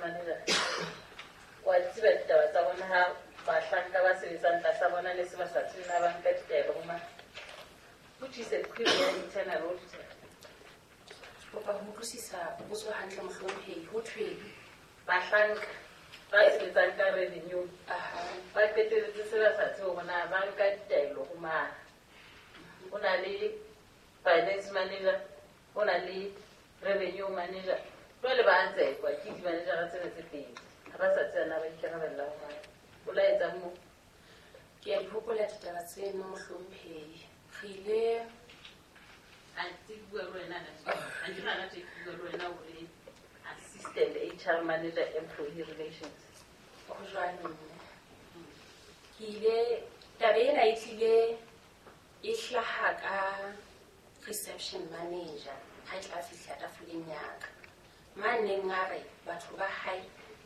manager wa di tseba ditaba tsa bona ha bahlanka ba sebetsang tlasa bona ne se ba sa tsebe na ba nka ditaelo ho mang, which is a query ya internal auditor. Kopa ho utlwisisa potso hantle, mohlomphehi. Ho thweng? Bahlanka ba sebetsang ka revenue ba qeteletse se ba sa tsebe hore na ba nka ditaelo ho mang. Ho na le finance manager, ho na le revenue manager, jwale ba a tsekwa ke di-managera tsena tse pedi, ha ba sa tseba na ba ikarabella ho mang. O la etsang moo? Ke a di hopola ditaba tseno, mohlomphehi. Re ile A ntse ke bua le wena ha ke hana tje ke bua le wena o le assistant HR manager employee relations. Ho jwalo, mme. Ke ile taba ena e tlile e hlaha ka reception manager ha e tla fihla tafoleng ya ka. Maneng a re batho ba hae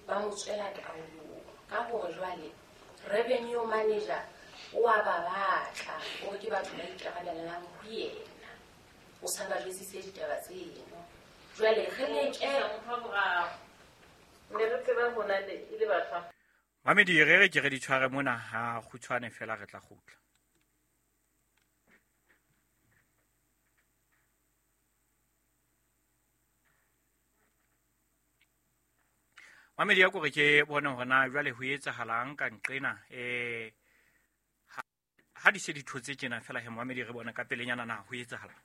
ba mo tswela taolong ka hore jwale revenue manager o a ba batla hore ke batho ba ikarabellang ho yena. O sa ba jwetsitse ditaba tseno. Jwale re leke motho wa boraro. Ne re tseba hona le e le batho. Mamedi, re re ke re di tshware mona ha kgutshwane fela re tla kgutla. Mamedi, ya kore ke bone hore na jwale ho etsahalang ka nqena, ha di se di thotse tjena fela he, mamedi, re bone ka pelenyana na ho etsahalang.